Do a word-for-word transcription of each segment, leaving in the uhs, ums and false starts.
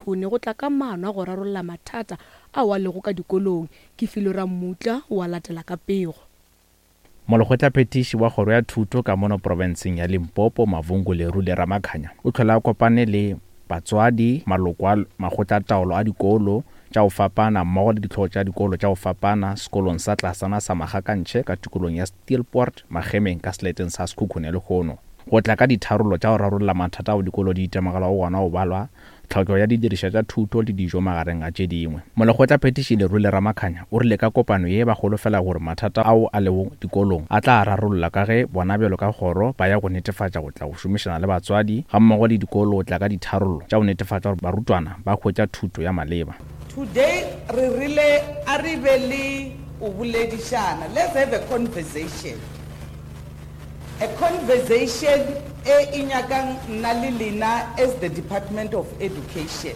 Sekhukhune go tla ka maano a go rarolla mathata ao a lego ka dikolong. Ke Filwe Rammutla wa latela ka pego. Molekgotlaphethiši wa kgoro ya thuto ka mono profenseng ya Limpopo, Mavhungu Lerule Ramakhanya, o tlhola a kopane le batswadi, maloko a makgotlataolo a dikolo tša go fapana mmogo le ditlhogo tša dikolo tša go fapana sekolong sa tlasana sa Magakantšhe ka tikolong ya Steelpoort Magemeng ka seleteng sa Sekhukhune lehono go tla ka ditharollo tša go rarolla mathata ao dikolo di itemogelago gona go balwa tlhokego ya didirišwa tša thuto le dijo magareng a tše dingwe. Molekgotlaphethiši Lerule Ramakhanya o rile ka kopano ye ba holofela gore mathata ao a lego dikolong a tla rarollwa ka ge bona bjalo ka kgoro ba ya go netefatša go tla go šomišana le batswadi gammogo le dikolo go tla ka ditharollo tša go netefatša gore barutwana ba hwetša thuto ya maleba. Today re rile a re be le o boledišana. Let's have a conversation. A conversation e e nyakang nna le lena as the Department of Education.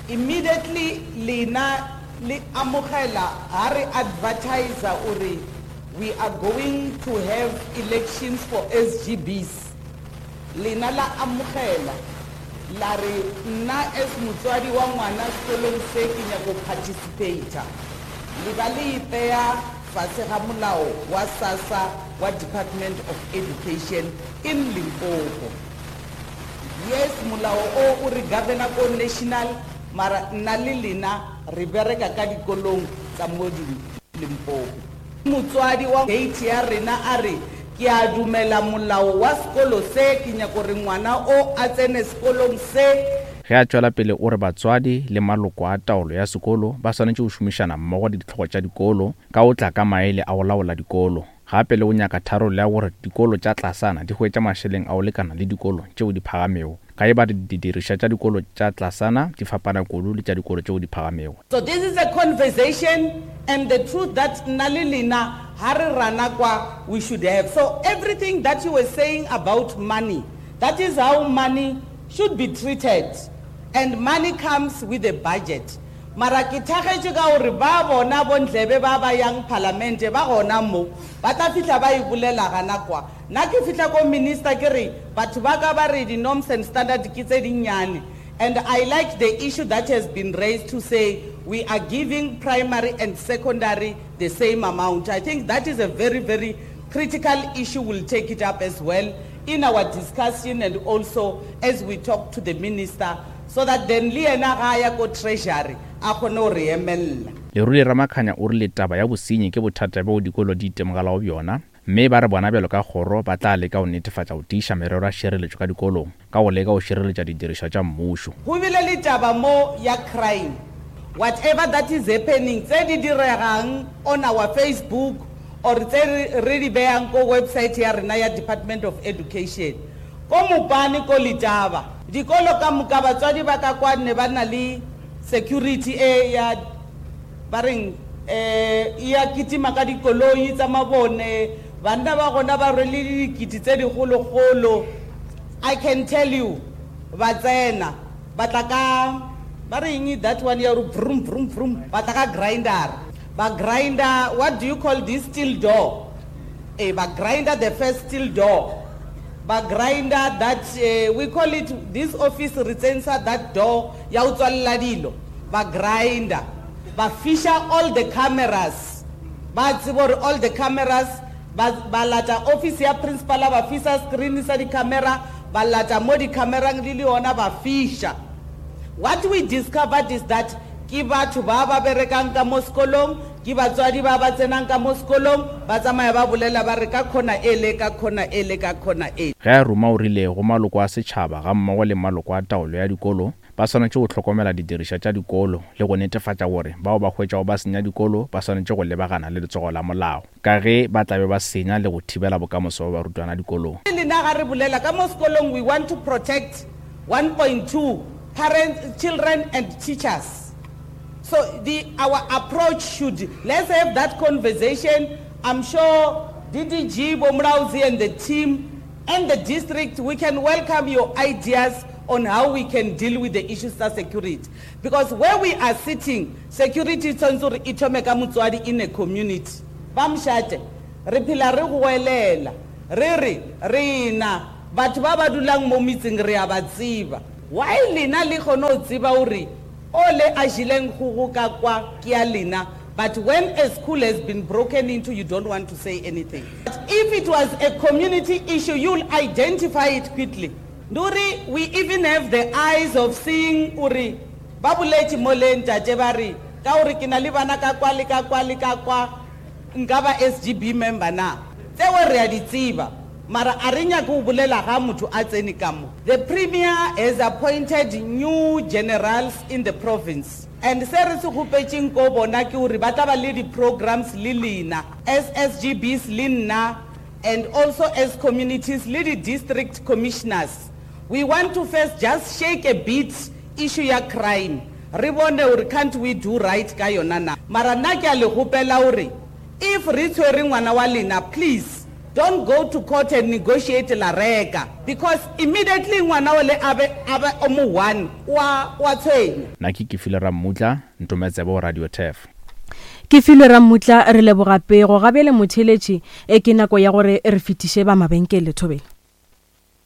Immediately lena le amogela ha re advertise ore we are going to have elections for S G Bs. Lena la amogela la re nna as motswadi wa ngwana sekolong se ke nyako participate. Le ba le ipeya fase ga molao wa SASSA wa Department of Education in Limpopo. Yes, molao o o re governor ko national, mara nna le lena re bereka ka dikolong tsa mo Limpopo. Motswadi wa gate ya rena a re ke a dumela molao wa sekolo se, ke nyaka gore ngwana o a tsene sekolong se. Ge a tšwela pele o re batswadi le maloko a taolo ya sekolo ba swanetše go šomišana mmogo le ditlhogo tša dikolo ka go tla ka maele a go laola dikolo. Gape le go nyaka tharollo ya gore dikolo tša tlasana di hwetša mašeleng a go lekana le dikolo tšeo di phagamego, ka e ba didirišwa tša dikolo tša tlasana di fapana kudu le tša dikolo tšeo di phagamego. So this is a conversation and the truth that nna le lena ha re rana kwa we should have. So everything that you were saying about money, that is how money should be treated. And money comes with a budget. Mara ke thagetše ka gore ba bona bondlebe ba ba yang parliament ba gona mo, ba tla fihla ba e bolela gana kwa. Nna ke fihla ko minister ke re batho ba ka ba re di-norms and standard ke tse dinnyane. And I like the issue that has been raised to say we are giving primary and secondary the same amount. I think that is a very, very critical issue. We'll take it up as well in our discussion and also as we talk to the minister, so that then le yena ga ya ko treasury a kgone go re emella. Lerule Ramakhanya o rile taba ya bosenyi ke bothata bjo dikolo di itemogelago bjona, mme ba re bona bjalo ka kgoro ba tla leka go netefatša go tiiša merero ya tšhireletšo ka dikolong ka go leka go šireletša didirišwa tša mmušo. Go bile le taba mo ya crime, whatever that is happening, tse di diregang on our Facebook or tse re di beyang ko website ya rena ya Department of Education. Ko Mopani ko Letaba, dikolo ka moka batswadi ba ka kwa ne ba na le security e ya ba reng, eh, ya kitima ka dikoloi tsa mabone, banna ba gona ba rwele dikiti tse digologolo. I can tell you, ba tsena, ba tla ka, ba re eng that one ya gore vroom, vroom, vroom, ba tla ka grinder. Ba grinder, what do you call this steel door? Eh, ba grinder the first steel door. Ba grinder that, uh, we call it, this office re tsentsha that door ya ho tswalla dilo. Ba grinder. Ba fisha all the cameras. Ba tseba hore all the cameras, ba, ba lata office ya principal, ba fisa screen sa di-camera, ba lata mo di-camerang le le yona ba fisha. What we discovered is that ke batho ba ba berekang ka mo sekolong, ke batswadi ba ba tsenang ka mo sekolong, ba tsamaya ba bolela ba re ka khona ele, ka khona ele, ka khona ele. Ge a ruma o rile go maloko a setšhaba ga mmogo le maloko a taolo ya dikolo ba swanetše go hlokomela didirišwa tša dikolo le go netefatša gore bao ba hwetšago ba senya dikolo ba swanetše go lebagana le letsogo la molao, ka ge ba tla be ba senya le go thibela bokamoso ba barutwana dikolong. Le nna ga re bolela ka mo sekolong, we want to protect one point two parents, children and teachers. So the, our approach should, let's have that conversation. I'm sure D D G, Bomrauzi and the team and the district, we can welcome your ideas on how we can deal with the issues of security. Because where we are sitting, security is motswadi in a community. Ba mošate, re phela re goelela, re re, re na, batho ba ba dulang mo metseng re a ba tseba. Why lena le kgone go tseba gore o le a jeleng kgogo ka kwa ke ya lena, but when a school has been broken into, you don't want to say anything. But if it was a community issue, you'll identify it quickly. Nduri, we even have the eyes of seeing uri ba boletše mo le ntate ba re ka gore ke na le bana ka kwa le ka kwa le ka kwa nka ba S G B member na. Tseo re a di tseba, mara a re nyake go bolela ga motho a tsene ka mo. The premier has appointed new generals in the province, and se re se kgopetšeng ko bona ke gore ba tla ba le di-programs le lena as S G Bs le nna and also as communities le di-district commissioners. We want to first just shake a bit issue ya crime, re bone gore can't we do right ka yona na. Mara nna ke a le gopela gore if re tshwere ngwana wa lena, please don't go to court and negotiate la reka, because immediately ngwana ole a be a be o mo one wa wa tshwenya. Nna ke Kefilwe Rammutla, Ntometsebo, Radio Turf. Ke filwe Rammutla, re leboga pego. Gabele motheletši, e ke nako ya gore re fetiše ba mabenkele thobela.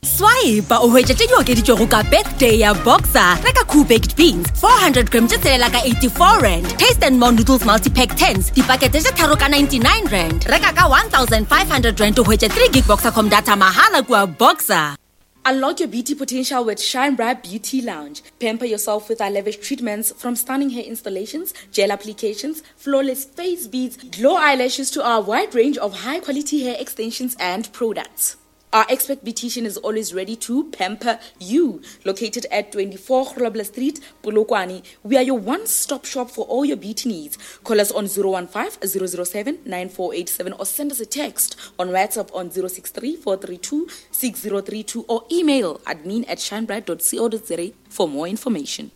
Swipe o hwetše tše di okeditšwego ka birthday ya Boxer. Reka Cool Baked Beans four hundred gram tše tshelela ka eighty-four rand, Taste and More Noodles multipack tens dipakete tše tharo ka ninety-nine rand. Reka ka one thousand five hundred rand o hwetše three gig Boxercom data mahala kua Boxer. Unlock your beauty potential with Shine Bright Beauty Lounge. Pamper yourself with our lavish treatments, from stunning hair installations, gel applications, flawless face beads, glow eyelashes to our wide range of high quality hair extensions and products. Our expert beautician is always ready to pamper you. Located at twenty-four Grobler Street, Polokwane, we are your one-stop shop for all your beauty needs. Call us on zero one five zero zero seven nine four eight seven or send us a text on WhatsApp on zero six three four three two six zero three two or email admin at shinebright dot co dot za for more information.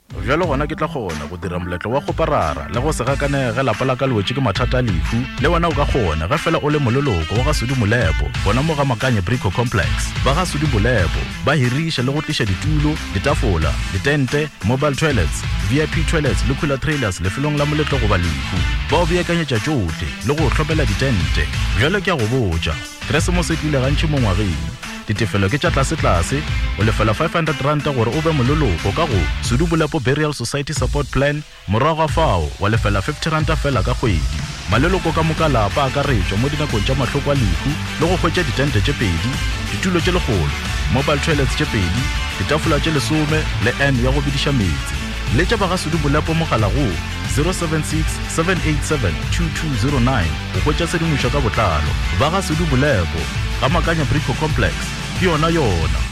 Bjalo gona ke tla kgona go dira moletlo wa kgoparara le go se gakanege lapa la ka le wetše ke mathata a lehu. Le wena o ka kgona ge fela o le moleloko wa ga Sudi Molepo gona mo ga Makanye Brico Complex. Ba ga Sudi Molepo ba hiriša le go tliša ditulo, ditafola, ditente, mobile toilets, V I P toilets le cooler trailers lefelong la moletlo goba lehu. Ba o beakanyetša tšohle le go hlopela ditente. Bjalo ke a go botša, Keresemose e tlile gantši mo ngwageng. Ditefelo ke tša tlasetlase. O lefela five hundred ranta gore o be moleloko ka go Sedubolepo Burial Society Support Plan. Morago ga fao wa lefela fifty ranta fela ka kgwedi. Maleloko ka moka lapa akaretšwa mo dinakong tša mahloko a lehu le go hwetša ditente tše pedi, ditulo tše lekgolo, mobile toilets tše pedi, ditafola tše lesome le n ya go bediša meetse. Letša ba ga Sedubolepo mogala go zero seven six seven eight seven two two zero nine go hwetša tshedimošo ka botlalo. Ba ga Sedubolepo ga Makanya Brico Complex ke yona yona.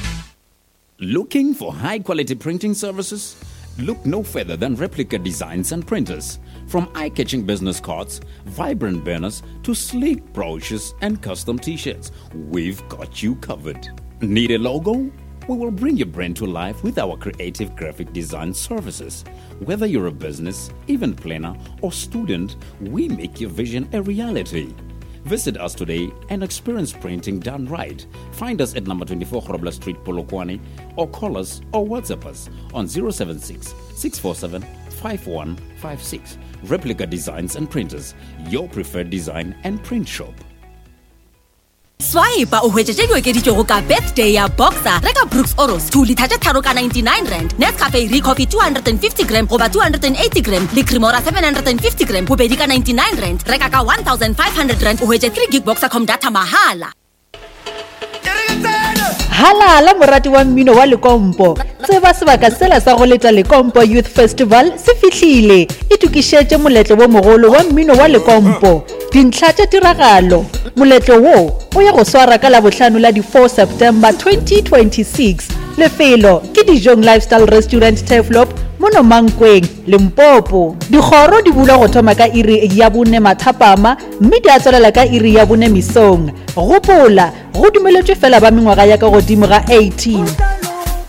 Looking for high quality printing services? Look no further than Replica Designs and Printers. From eye catching business cards, vibrant banners, to sleek brochures and custom t shirts, we've got you covered. Need a logo? We will bring your brand to life with our creative graphic design services. Whether you're a business, event planner, or student, we make your vision a reality. Visit us today and experience printing done right. Find us at number twenty-four Grobler Street, Polokwane, or call us or WhatsApp us on zero seven six six four seven five one five six. Replica Designs and Printers, your preferred design and print shop. Swipe o hwetše tše di okeditšwego ka birthday ya Boxer. Reka Brooks Oros two litre tše tharo ka ninety-nine rand, Nescafe Recoffee two hundred fifty gram goba two hundred eighty gram le Cremora seven hundred fifty gram bobedi ka ninety-nine rand. Reka ka one thousand five hundred rand o hwetše three gig Boxercom data mahala. Halala morati wa mmino wa lekompo, tseba sebaka sela sa go leta Lekompo Youth Festival se fihlile. Itokišetše moletlo wo mogolo wa mmino wa lekompo. Dintlha tša tiragalo: moletlo wo o ya go swara ka Labohlano la di-four September twenty twenty-six. Lefelo ke Dijong Lifestyle Restaurant, Turfloop, mono Mankweng, Limpopo. Dikgoro di bulwa go thoma ka iri ya bone mathapama mme di a tswelela ka iri ya bone mesong. Gopola, go dumeletšwe fela ba mengwaga ya ka godimo ga eighteen.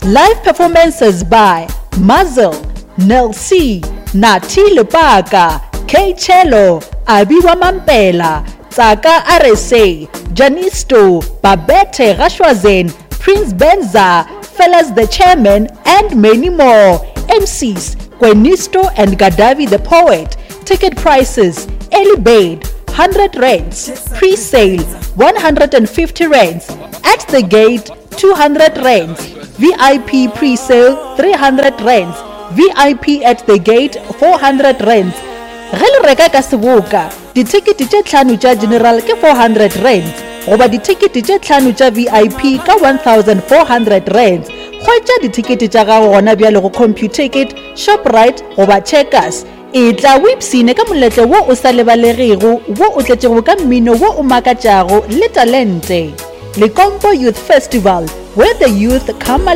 Live performances by Muzzle, Nel C, Nati Lepaka, K Cello, Abiwa Mampela, Tsaka R S A, Janisto, Babette Gashwazen, Prince Benza, Fellas the Chairman, and many more. M Cs Kwenisto and Gadavi the Poet. Ticket prices: early bird one hundred rands, pre-sale one hundred fifty rands, at the gate two hundred rands. V I P pre-sale three hundred rands, V I P at the gate four hundred rands. Ge le reka ka seboka, dithekete tše tlhano tša general ke four hundred rands goba dithekete tše tlhano tša V I P ka one thousand four hundred rands. Hwetša dithekete tša gago gona bjale go Computicket, Shoprite goba Checkers. Etla o ipshine ka moletlo wo o sa lebalegego wo o tletšego ka mmino wo o makatšago le talente. Lekompo Youth Festival, where the youth come alive.